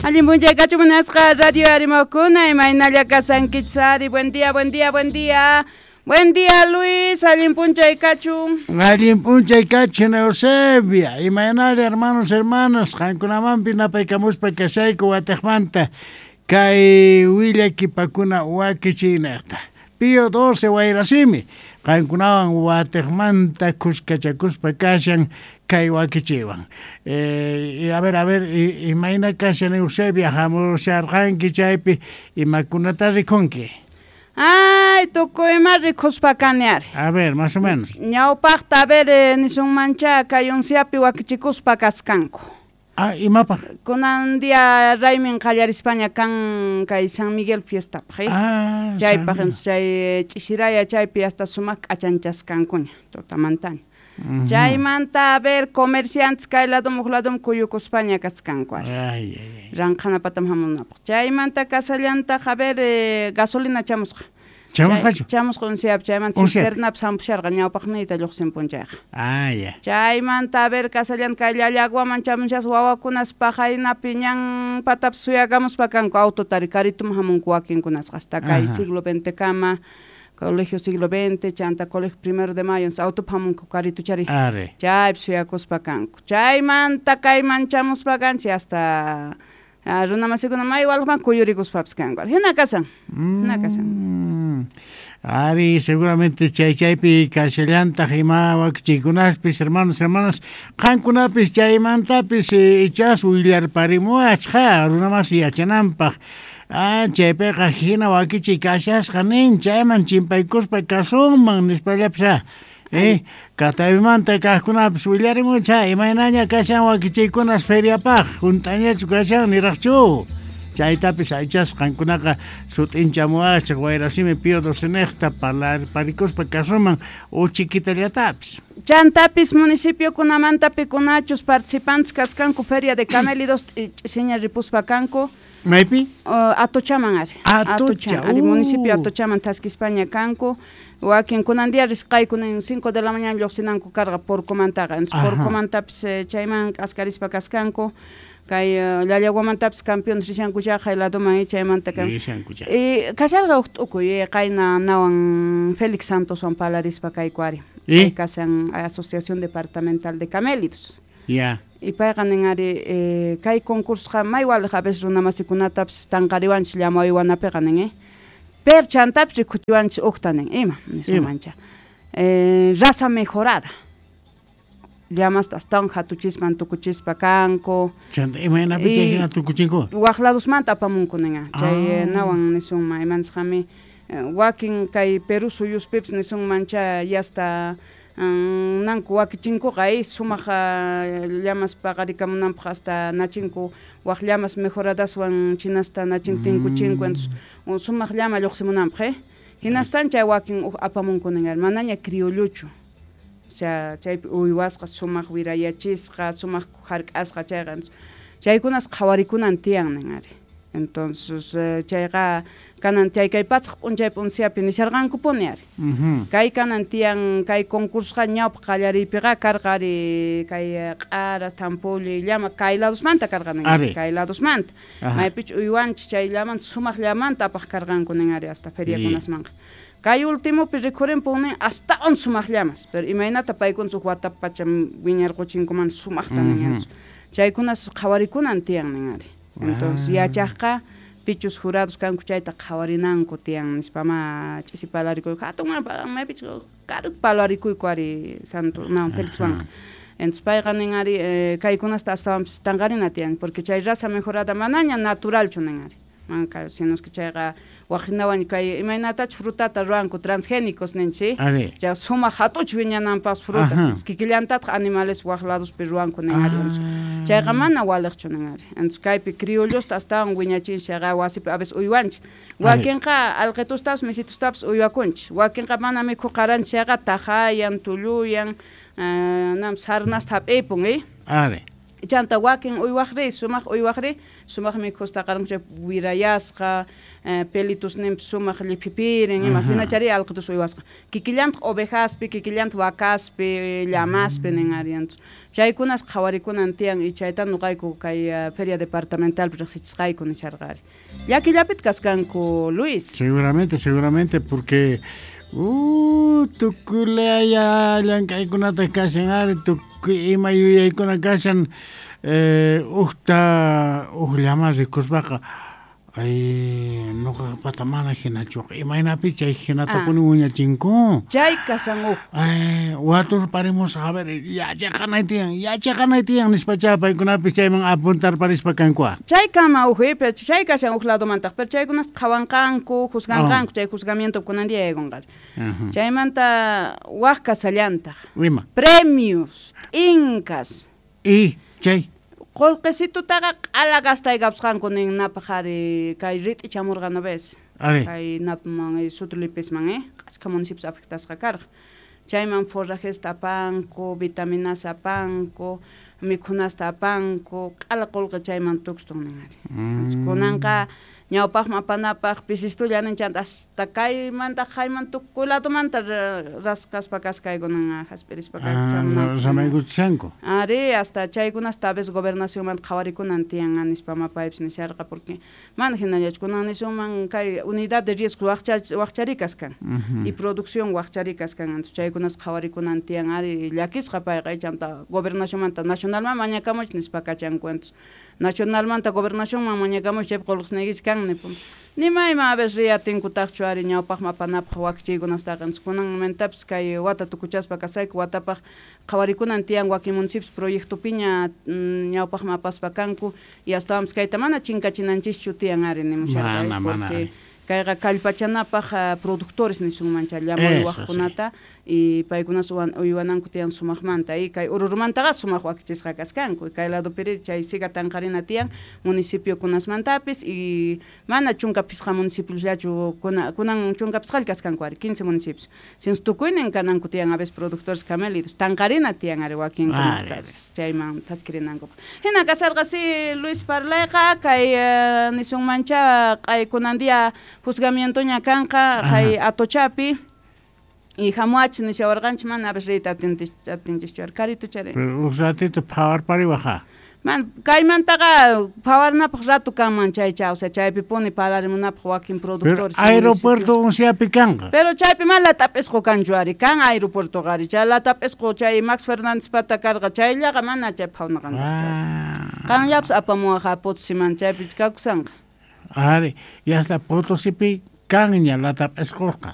Allin p'unchay kachun munasqa radio arimawkuna imaynalla kasankichis ari. Buen día, buen día, buen día. Buen día, Luis, allin p'unchay kachun. Allin p'unchay kachun, Eusebia. Imaynalla, hermanos, hermanas, qankunamanpi napaykamuspa kashayku watiqmanta kay willakipakuna wakichiynaqta. Pío 12 Wayrasimi, qankunawan watiqmanta kuskachakuspa kashan kay wakichiwan. A ver, a ver, imayna kashan Eusebia, hamusharqanki chaypi imakunata rikunki? Ay, tukuy ima rikuspa kani ari. A ver, más o menos. Ñawpaqta, a ver, nisunmancha kay unsiapi wakichikuspa kaskanku. Ah, imapaq? Kunan día raymin qallarispaña kan kay San Miguel fiestapaq, eh? Ah, chaypaq, entonces chay ch'isiraya chaypi hasta sumaq k'achanchaskankuña tutamantaña. Chaymanta, a ver, comerciantes kay ladum huk ladum kuyukuspaña kaskanku ari. Ay, ay, ay. Ranqhanapatam hamunapaq. Chaymanta kasallantaq, a ver, gasolina chamusqa. Chamusqachu? Chamusqa unsiapi, chaymanta cisternapi sampusharqa ñawpaqniyta lluqsinpun chayqa. Ah, ya. Chaymanta, a ver, kasallanta kay llallaguaman chamushasqa wawakunas paqaynapi ñan patapi suyakamuspa kanku autotari karituman hamunku wakinkunasqa hasta kay siglo XX kama, colegio siglo XX, chanta colegio primero de mayo, autopi hamunku karituchari. Are. Chaypi suyakuspa kanku. Chaymanta kayman chamuspa kanchik hasta runamasikuna may walqman kuyurikuspapis kanku. Hina kasan. Hina kasan. Ari, seguramente chay chaypi kashallantaq ima wakichikunaspis, hermanos, hermanas, qankunapis chaymantapis ichas willarparimuwachqa runamasi yachananpaq. Ah, chaypiqa hina wakichi kashasqa nin, chayman chimpaykuspa kasunman nispallapis, ah. Kataymanta kaqkunapis willarimucha, imaynaña kashan wakichikunas feriapaq, hunt'añachu kashan niraqchu. Chaytapis aychas qankunaqa sut'inchamuwachaq Wayrasimi Pío XII parparikuspa kasuman uchikitallatapis. Chantapis municipiokunamanta pikunachus participantes kaskanku Feria de Camélidos ch'isiña ripuspa kanku. Maypi? Atochaman ari. Atocha, Atocha, ari, municipio Atochaman thaskispaña kanku. Wakin kunan día risqayku nin 5 de la mañana lluqsinanku karqa Porcomantaqa. Entonces, Porcomantapis chayman k'askarispa kaskanku. Kay Llallaguamantapis campeones rishanku chaqay ladoman chaymanta kan. Rishanku chaqa. Kasharqa huk t'ukuy, qayna nawan Félix Santoswan palarispa kayku ari. ¿Y? Kay kasan Asociación Departamental de Camélidos. Ya. Y payqa nin ari, kay concursoqa may waliq a veces runamasikunatapis tanqariwanchis llama uywanapiqa nin, Pero chantapis rikuchiwanchis uqta nin, ima, nisunmancha. Raza mejorada. Llamasta astawan hatuchisman tukuchispa kanku. Chanta, imaynapi chay hina tukuchinku? Waq ladosmanta apamunku nin, chay nawan nisunman, imanisqami, wakin kay Perú suyuspipis nisunmancha yasta, nanku wakichinkuqa, sumaq, llamas paqarikamunanpaq hasta nachinku waq llamas mejoradaswan chinasta nachinku tinkuchinku, entonces, sumaq llama lluqsimunanpaq, Hinastan chay wakin uj apamunku nin, manaña criolluchu. O sea, chaypi uywasqa sumaq wirayachisqa, sumaq hark'asqa chayqa. Entonces, chaykunas qhawarikunan tiyan nin ari. Entonces, chayqa kanan chay kay patsaq p'unchay p'unsiapi nisharqankupuni ari. Kay kanan tiyan kay concursoqa ñawpaq qallariypiqa karqa ari kay q'ara, thampulli, llama kay ladosmanta karqa nin ari, kay ladosmanta. Maypichu uywanchis chay llamanta sumaq llamanta apaq karqanku nin ari hasta feriakunasmanqa. Kay ultimopi rikhurinpun nin astawan sumaq llamas, pero imaynata paykuna huk watapi pacha wiñarquchinkuman sumaqta nin ari. Chaykunas qhawarikunan tiyan nin ari. Entonces, yachaqqa pichus jurados kanku chayta qhawarinanku tiyan nispa ma ch'isi palarikuyku hatun maypichu karu palarikuyku ari Santo no Felixwanqa. Entonces payqa nin ari, kaykunasta astawanpis tanqarina tiyan porque chay raza mejorada manaña naturalchu nin ari. Manka, sino que chayqa waqhinawan kay imaynatachus frutata ruwanku transgénicos ninchik. Ari. Chay sumaq hatuch wiñananpas frutas. Kikillantataq animales waq ladospi ruwanku nin ari. Entonces, chayqa mana waliqchu nin ari. Entonces, kaypi criollosta astawan wiñachinchik chayqa wasipi a veces uywanchik. Wakinqa alqitustapis misitustapis uywakunchik. Wakinqa mana mikhuq qaranchik chayqa tajayan, tulluyan, nam sarnasta hap'ipun, Ari. Chanta wakin uywaqri, sumaq uywaqri, sumaq mikhusqa qaranku chay wirayasqa, pelitusninpis sumaq lliphipirin, ima hinachari alqitus uywasqa. Kikillantaq ovejaspi, kikillantaq vacaspi, llamaspi nin ari. Chaykunas qhawarikunan tiyan y chayta nuqayku kay feria departamentalpi riqsichisqayku nisharqa ari. Llakillapit kaskanku, Luis. Seguramente, seguramente, porque tukuy laya llank'aykunata kashan ari, tukuy ima yuyaykuna kashan, ujta uj llama rikuspaqa, ay nuqapata mana hinachuqa, imaynapi chay hinatapuni wiñachinku. Chay kashan uj. Ay, waturparimusaq, a ver, yachaqanay tiyan, yachaqanay tiyan nispacha paykunapis chayman apuntarparispa kankua. Chay kama uj, pero chay kashan uj ladomantaq, pero chaykunas qhawanqanku, juzganqanku, chay juzgamiento kunan día yaykunqari. Chaymanta waj kasallantaq. Ima? Premios, incas. Y chay. Qullqisitutaqa q'ala gastaykapusqanku nin napaq ari kay rit'i chamurqa ves. Ari. Kay napman Sutrulipisman, achka municipios afectasqa karqa. Chayman forrajesta apanku, vitaminasta apanku, mikhunasta apanku, q'ala qullqi chayman tukstun nin ari. Kunanqa ñawpaqman apanapaq pisistulla nin chanta hasta kaymanta hayman tukuy ladomanta rasqaspa kaskaykunan hasp'irispa Samaykuchishanku. Ari, hasta chaykunasta a veces gobernacionmanta qhawarikunan tiyan nispa mapaypis nisharqa, porque mana hinallachu kunan nisunman kay unidad de riesgo waqchari kaskan y producción waqchari kaskan, entonces chaykunas qhawarikunan tiyan ari llakisqa payqa chanta gobernacionmanta nacionalman mañakamuch nispa kachanku, entonces nacionalmanta gobernacionman mañakamuch chaypi qullqisniykichik kan nipun. Nima a veces riyatinkutaqchu ari ñawpaqman apanapaq wakichiykunastaqa, entonces kunanmantapis kay wata tukuchaspa kasayku watapaq qhawarikunan tiyan wakin municipios proyectopiña ñawpaqman apaspa kanku y astawanpis kayta mana chinkachinanchischu tiyan ari nimusharqa, Mana, mana, porque ari. kayqa kallpachanapaq productores nisunman chay llama Eso, uywaqkunata sí. y paykunas uywananku tiyan sumaqmanta y kay Oruromantaqa sumaq wakichisqa kaskanku kay ladopiri chay siga tanqarina tiyan municipiokunasmantapis y mana chunka pisqa municipiollachu kunan chunka pisqalla kaskanku ari 15 municipios sino tukuynin kananku tiyan a veces productores camélidos tanqarina tiyan ari wakinkunastapis chayman thaskirinankupaq. Hina kasarqa si Luis parlayqa kay nisunmancha kay kunan día juzgamientoña kanqa kay Atochapi y hamuach nishawarqanchik mana a veces riyta atinchikchu ari karituchari. Pero un ratito phawarpariwaqa. Man, kaymantaqa phawarnapaq rato kanman chaycha, o sea, chaypi puni parlarimunapaq wakin productores. Pero aeropuerto unsiapi kanqa. Pero chaypi mana lat'ap'isqu kanchu ari, kan aeropuertoqa ari, chay lat'ap'isqu chay Max Fernández pata karqa, chayllaqa mana chay phawnaqa. Qanllapas apamuwaqa Potosiman chaypi kakusanqa. Ari, y hasta Potosipi kanña lat'ap'isqurqa.